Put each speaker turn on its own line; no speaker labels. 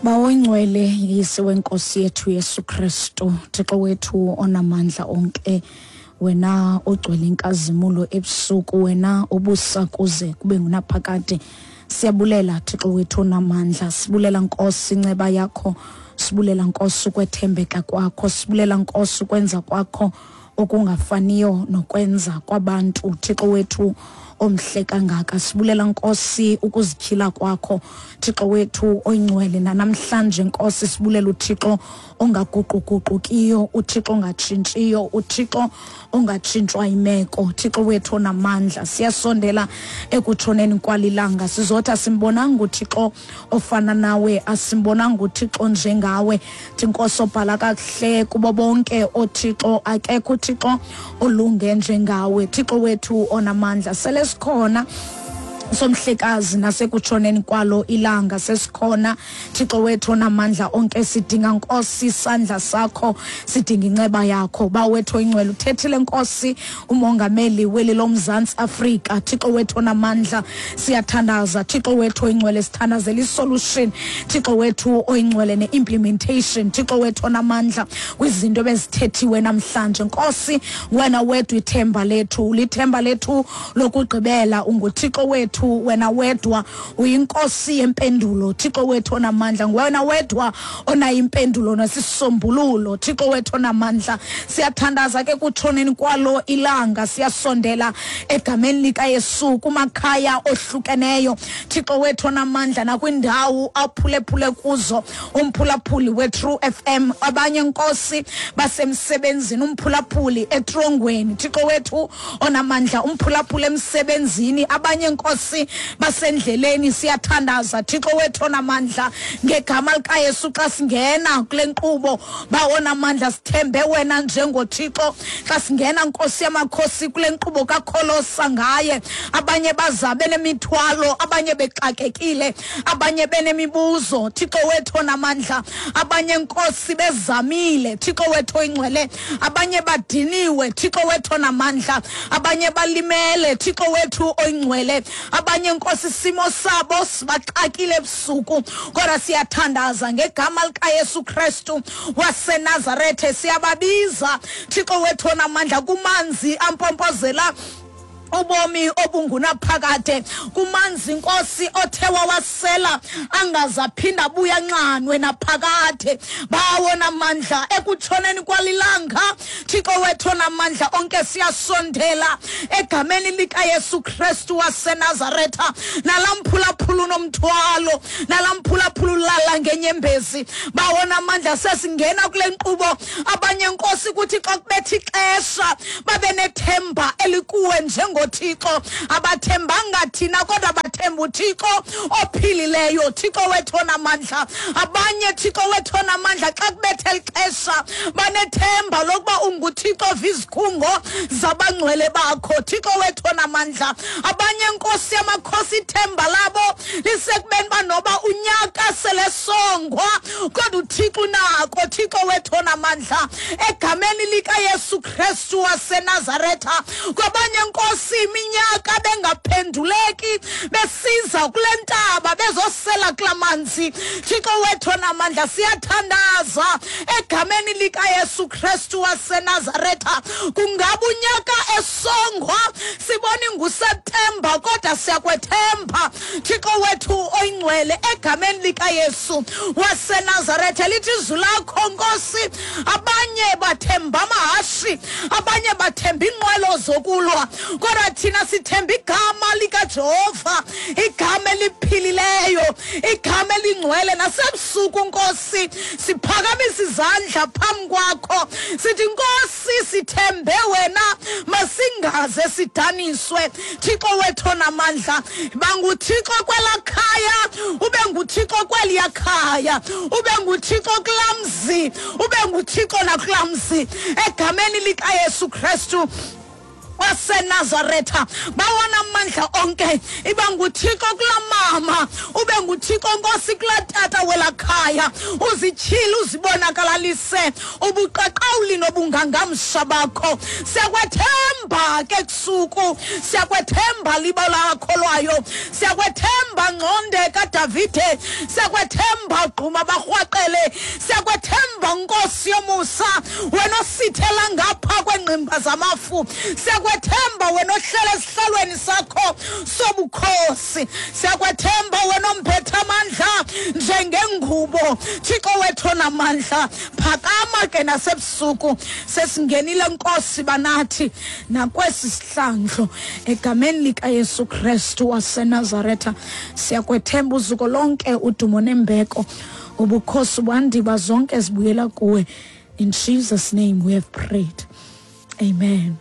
Bawo ingcwele, Yise wenkosi yethu Yesu Kristu, Thixo wethu onamandla onke, wena ogcwele inkazimulo ebusuku, wena obusa kuze kube ngunaphakade. Siyabulela Thixo wethu onamandla, sibulela Nkosi inceba yakho, sibulela Nkosi ukwethembeka kwakho, sibulela Nkosi ukwenza kwakho okungafaniyo nokwenza kwabantu. Thixo wethu omhle kangaka, sibulela Nkosi ukuzityhila kwakho, Thixo wethu oyingcwele. Nanamhlanje Nkosi sibulela uThixo ongaguquguqukiyo, uThixo ongatshintshiyo, uThixo ongatshintshwa imeko. Thixo wethu onamandla, siyasondela ekutshoneni kwalilanga, sizothi asimbonanga uThixo ofana nawe, asimbonanga uThixo njengawe. Thinkosi obhala kakuhle kubo bonke oothixo, akekho uThixo olunge njengawe. Thixo wethu onamandla, sele sikhona somhlekazi nasekutshoneni kwalo ilanga sesikhona. Thixo wethu onamandla onke, sidinga Nkosi isandla sakho, sidinga inceba yakho. Ba wethu oyingcwele, uthethile Nkosi umongameli weli loMzantsi Afrika. Thixo wethu onamandla, siyathandaza. Thixo wethu oyingcwele, sithandazela isolution, Thixo wethu oyingcwele, ne-implementation, Thixo wethu onamandla, kwizinto ebezithethiwe namhlanje. Nkosi, wena wedwa ithemba lethu, lithemba lethu lokugqibela. UnguThixo wethu, wena wedwa uyinkosi yempendulo. Thixo wethu onamandla, nguwena wedwa onayo impendulo nesisombululo. Thixo wethu onamandla, siyathandaza ke kutshoneni kwalo ilanga, siyasondela egameni likaYesu kumakhaya ohlukeneyo, Thixo wethu onamandla, nakwindawo aphulephule kuzo umphulaphuli weTrue FM. Abanye Nkosi basemsebenzini, umphulaphuli etrongweni, Thixo wethu onamandla, umphulaphuli emsebenzini, abanye Nkosi basendleleni. Siyathandaza Thixo wethu onamandla ngegama likaYesu, xa singena kule nkqubo, bawonamandla, sithembe wena njengoThixo. Xa singena Nkosi yamakhosi kule nkqubo kakholosa ngaye, abanye baza benemithwalo, abanye bexakekile, abanye benemibuzo, Thixo wethu onamandla, abanye Nkosi bezamile, Thixo wethu oyingcwele, abanye badiniwe, Thixo wethu onamandla, abanye balimele, Thixo wethu oyingcwele, abanye Nkosi isimo sabo sibaxakile ebusuku. Kodwa siyathandaza ngegama likaYesu Kristu waseNazarethe, siyababiza Thixo wethu onamandla kumanzi ampompozela ubomi obungunaphakade, kumanzi Nkosi othe wawasela angaze aphinda abuya nxanwe naphakade. Bawo namandla, ekutshoneni kwalilanga, Thixo wethu onamandla onke, siyasondela egameni likaYesu Kristu waseNazaretha, nalamphulaphula unomthwalo, nalamphulaphula ulala ngenyembezi. Bawo namandla, sesingena kule nkqubo, abanye Nkosi kuthi xa kubetha ixesha babe nethemba elikuwe njengoThixo. Abathembanga thina kodwa bathemba uThixo ophilileyo, Thixo wethu onamandla. Abanye Thixo wethu onamandla xa kubetha elixesha banethemba lokuba unguThixo vizikhungo zabangcwele bakho, Thixo wethu onamandla. Abanye Nkosi yamakhosi ithemba labo lisekubeni uba noba unyaka selesongwa kodwa uThixo unako, Thixo wethu onamandla, egameni likaYesu Kristu waseNazaretha. Kwabanye Nkosi iminyaka bengaphenduleki, besiza kule ntaba bezosela kula manzi, Thixo wethu onamandla, siyathandaza egameni likaYesu Kristu waseNazaretha. Kungaba unyaka esongwa sibona inguSeptemba, kodwa siyakwethemba Thixo wethu oyingcwele egameni likaYesu waseNazaretha. Lithi izwi lakho Nkosi, abanye bathemba amahashi, abanye bathemba iinqwelo zokulwa, kodwa thina sithemba igama likaJehova, igama eliphilileyo, igama elingcwele. Nasebusuku Nkosi siphakamisa izandla phambi kwakho, sithi Nkosi sithembe wena, masingaze sidaniswe. Thixo wethu onamandla, banguThixo kwela khaya, ube nguThixo kweliya khaya, ube nguThixo kulaa mzi, ube nguThixo nakulaa mzi, egameni likaYesu Kristu waseNazaretha, bawanamandla onke, iba nguThixo kulaa mama, ube nguThixo Nkosi kulaa tata welaa khaya, uzityhile uzibonakalalise ubuqaqawuli nobungangamsha bakho. Siyakwethemba ke kusuku, siyakwethemba liba lakholwayo, siyakwethemba ngconde kaDavide, siyakwethemba gquma barhwaqele, siyakwethemba Nkosi yomusa, wena osithela ngapha kwengqimba zamafu, siyakwethemba wena ohlele esihlalweni sakho sobukhosi, siyakwethemba wena omphethe amandla njengengubo. Thixo wethu onamandla, phakama ke nasebusuku, sesingenile Nkosi banathi nakwesi sihlandlo, egameni likaYesu Kristu waseNazaretha. Siyakwethemba uzuko lonke, udumo nembeko, ubukhosi bwandiba zonke zibuyela kuwe. In Jesus' name we have prayed, amen.